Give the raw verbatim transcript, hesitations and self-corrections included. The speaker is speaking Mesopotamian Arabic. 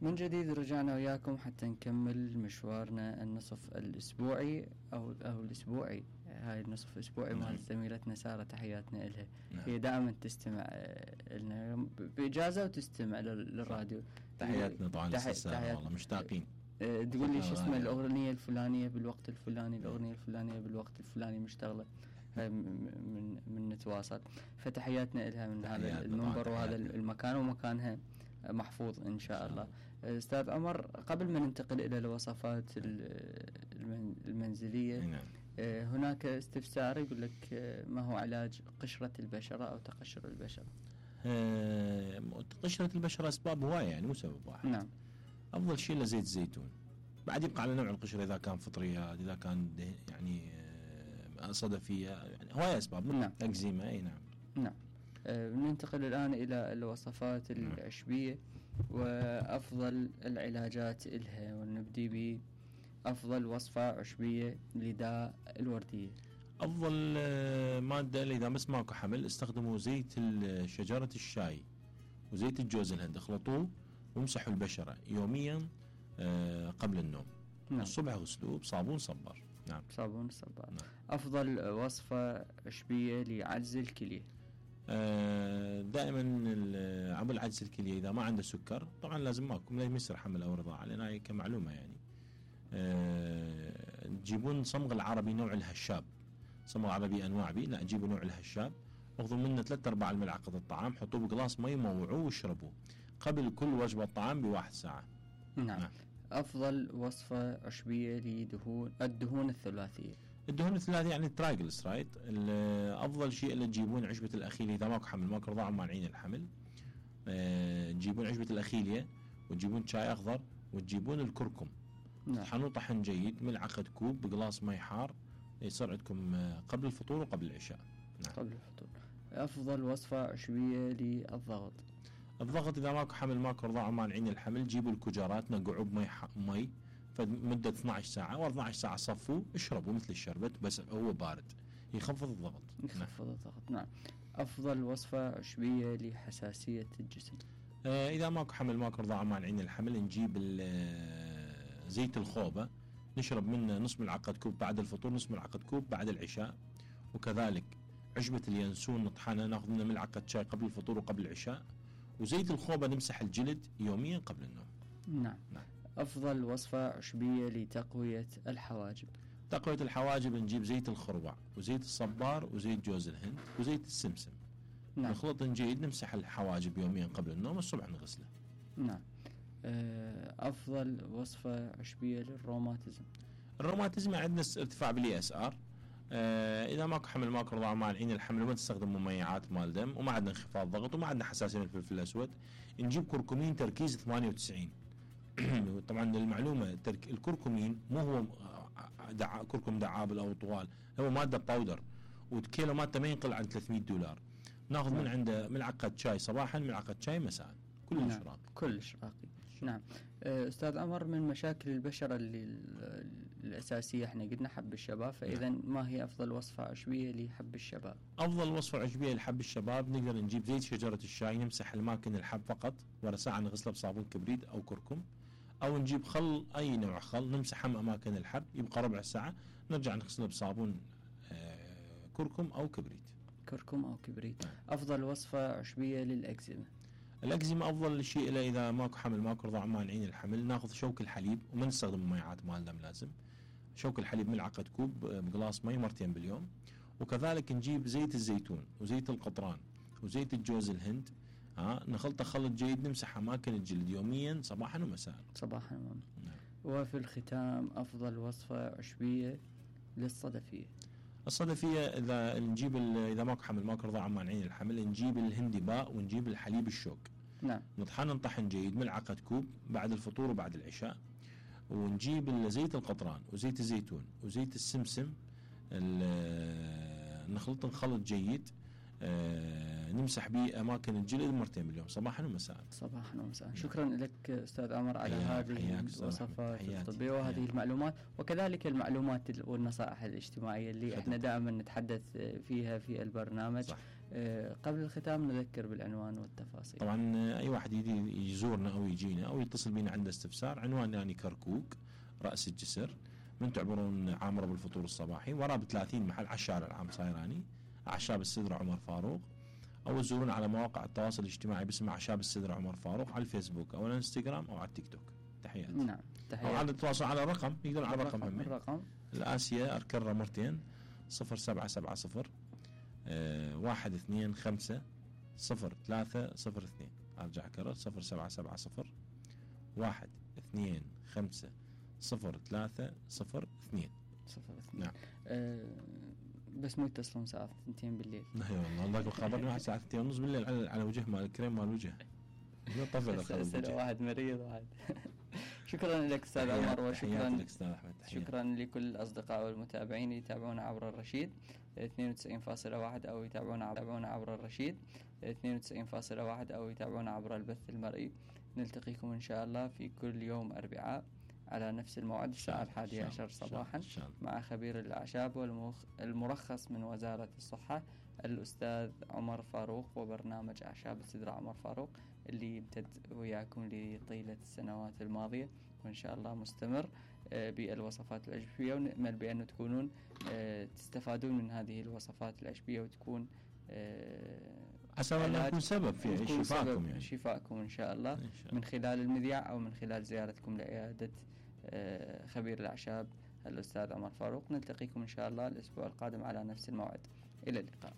من جديد رجعنا وياكم حتى نكمل مشوارنا النصف الأسبوعي أو أو الأسبوعي. هاي النصف الأسبوعي مال زميلتنا سارة، تحياتنا إلها. نعم. هي دائما تستمع لنا بإجازة وتستمع للراديو. تحياتنا طبعا تحي... سارة، والله مشتاقين. تقول لي شو اسمه الأغنية الفلانية بالوقت الفلاني، الأغنية الفلانية بالوقت الفلاني مشتغلة. من من نتواصل، فتحياتنا إلها من هذا المنبر وهذا المكان، ومكانها محفوظ إن شاء الله. أستاذ عمر، قبل ما ننتقل إلى الوصفات المنزلية، هناك استفسار يقول لك ما هو علاج قشرة البشرة أو تقشر البشرة؟ قشرة البشرة أسباب هواية، يعني مو سبب واحد. نعم. أفضل شيء لزيت الزيتون، بعد يبقى على نوع القشرة، إذا كان فطريات، إذا كان يعني صدفية، يعني هواية أسباب. نعم. أكزيما. أي نعم. نعم. أه ننتقل الآن إلى الوصفات العشبية وأفضل العلاجات إلها، ونبدي بأفضل وصفة عشبية لداء الوردية. أفضل مادة إذا بس ماكو حمل، استخدموا زيت شجرة الشاي وزيت الجوز الهند، اخلطوه وامسحوا البشرة يوميا قبل النوم. نعم. الصبح غسلوه بصابون صبار. نعم. صابون صبار. نعم. أفضل وصفة عشبية لعجز الكلية. دائما عمل عجز الكلية إذا ما عنده سكر، طبعا لازم ماكو لازم يصير حمل أو رضاعة، لأن هاي كمعلومة يعني. تجيبون صمغ العربي نوع الهشاب، صمغ عربي أنواع بي، لا تجيبوا نوع الهشاب، اخذوا منه ثلاثة أرباع الملعقة الطعام، حطوه بقلاص مي، موعوه واشربوه قبل كل وجبة طعام بواحد ساعة. نعم. نعم. أفضل وصفة عشبية لدهون الدهون الثلاثية. الدهون الثلاثية يعني الترايجلسرايد. أفضل شيء اللي تجيبون عشبة الأخيلية، إذا ماكو حمل ماكو رضاعة مانعين الحمل، أه تجيبون عشبة الأخيلية وتجيبون شاي أخضر وتجيبون الكركم. نعم. تطحنوه طحن جيد، ملعقة كوب بقلاص مي حار، يصير عندكم قبل الفطور وقبل العشاء. نعم. قبل الفطور. أفضل وصفة عشبية للضغط. الضغط إذا ماكو حمل ماكو رضاعة مانعين الحمل، جيبوا الكجارات نقعوه بمي مي فمدة اثنتي عشرة ساعة و أربعة عشر ساعة، صفوا اشربوا مثل الشربت بس هو بارد، يخفض الضغط. يخفض نعم. الضغط. نعم. أفضل وصفة عشبية لحساسية الجسم. آه إذا ماكو حمل ماكو رضاعة مانعين الحمل، نجيب زيت الخوبة، نشرب منه نص ملعقة كوب بعد الفطور، نص ملعقة كوب بعد العشاء. وكذلك عشبة اليانسون نطحنها، ناخذ منها ملعقة شاي قبل الفطور وقبل العشاء. وزيت الخوبة نمسح الجلد يوميا قبل النوم. نعم. نعم. أفضل وصفة عشبية لتقوية الحواجب. تقوية الحواجب نجيب زيت الخروع وزيت الصبار وزيت جوز الهند وزيت السمسم. نعم. نخلط جيد، نمسح الحواجب يوميا قبل النوم، الصبح نغسله. نعم. أفضل وصفة عشبية للروماتيزم. الروماتيزم عندنا ارتفاع بالإي اس ار. آه إذا ماكو حمل ماكو رضاعة مانعين الحمل، وما تستخدم مميعات مال دم، وما عندنا انخفاض ضغط، وما عندنا حساسية من الفلفل الأسود، نجيب كركمين تركيز ثمانية وتسعين. طبعا للمعلومة الكركمين مو هو دع... كركم دعابل أو طوال، هو مادة باودر، وكيلو مادة ما ينقل عن ثلاثمية دولار. ناخذ من عنده ملعقة شاي صباحا، ملعقة شاي مساء، كلش نعم. راقي. كلش راقي. نعم. أستاذ عمر، من مشاكل البشرة اللي الأساسية احنا قلنا حب الشباب، فإذا نعم. ما هي أفضل وصفة عشبية لحب الشباب؟ أفضل وصفة عشبية لحب الشباب، نقدر نجيب زيت شجرة الشاي، نمسح الأماكن الحب فقط، ورا ساعة نغسله بصابون كبريت أو كركم، أو نجيب خل أي نوع خل نمسح أماكن الحب، يبقى ربع ساعة نرجع نغسله بصابون آه كركم أو كبريت. كركم أو كبريت. نعم. أفضل وصفة عشبية للأكزيما. الأكزيما أفضل شيء له إذا ماكو حمل ماكو رضاعة مانعين الحمل، ناخذ شوك الحليب وما نستخدم مميعات مال دم، لازم شوك الحليب ملعقة كوب بقلاص مي مرتين باليوم. وكذلك نجيب زيت الزيتون وزيت القطران وزيت الجوز الهند، ها نخلطه خلط جيد، نمسح أماكن الجلد يوميا صباحا ومساء. صباحا ومساء. نعم. وفي الختام أفضل وصفة عشبية للصدفية. الصدفية إذا نجيب إذا ماكو حمل ماكو رضاعة مانعين الحمل، نجيب الهندي باء ونجيب الحليب الشوك. نعم. نطحن نطحن جيد ملعقة كوب بعد الفطور وبعد العشاء. ونجيب زيت القطران وزيت الزيتون وزيت السمسم، نخلط نخلط جيد، آه نمسح به أماكن الجلد مرتين باليوم صباحا ومساء. صباحا ومساء. شكرا لك أستاذ عمر على هذه الوصفات الطبية وهذه حياتي. المعلومات، وكذلك المعلومات والنصائح الاجتماعية اللي حياتي. احنا دائما نتحدث فيها في البرنامج. صح. آه، قبل الختام نذكر بالعنوان والتفاصيل. طبعا اي واحد يجي يزورنا او يجينا او يتصل بينا عنده استفسار، عنواننا يعني كركوك راس الجسر، من تعبرون عامره بالفطور الصباحي، وراه بثلاثين محل على الشارع العام صايراني، اعشاب السدره عمر فاروق، او تزورونا على مواقع التواصل الاجتماعي باسم اعشاب السدره عمر فاروق على الفيسبوك او الانستغرام او على التيك توك. تحياتي. نعم تحياتي. او على التواصل على الرقم، يقدرون على الرقم هم الرقم الآسيا أركرة مرتين صفر سبعة سبعة صفر آه واحد اثنين خمسة صفر ثلاثة صفر اثنين. أرجع أكرر صفر سبعة سبعة صفر واحد اثنين خمسة صفر ثلاثة صفر اثنين صفر اثنين. نعم. أه بس مو يتصلون الساعة اثنتين بالليل. لا والله الله خبرني واحد الساعة اثنتين ونص بالليل على على وجه مال الكريم مال الوجه. طفل واحد مريض واحد. شكرا لك استاذ عمر، وشكرا شكرا لكل الاصدقاء والمتابعين اللي يتابعونا عبر الرشيد اثنين وتسعين فاصلة واحد او يتابعونا يتابعونا عبر الرشيد اثنين وتسعين فاصلة واحد او يتابعونا عبر البث المرئي. نلتقيكم ان شاء الله في كل يوم اربعاء على نفس الموعد الساعة الحادية عشر صباحا مع خبير الأعشاب والمرخص من وزارة الصحة الأستاذ عمر فاروق، وبرنامج أعشاب السدرة عمر فاروق اللي يمتد وياكم لطيلة السنوات الماضية وإن شاء الله مستمر بالوصفات العشبية، ونأمل بأن تكونون تستفادون من هذه الوصفات العشبية وتكون عسى الله يكون سبب في شفائكم يعني. شفائكم إن شاء الله من خلال المذياع أو من خلال زيارتكم لعيادة خبير الأعشاب الأستاذ عمر فاروق. نلتقيكم إن شاء الله الأسبوع القادم على نفس الموعد. إلى اللقاء.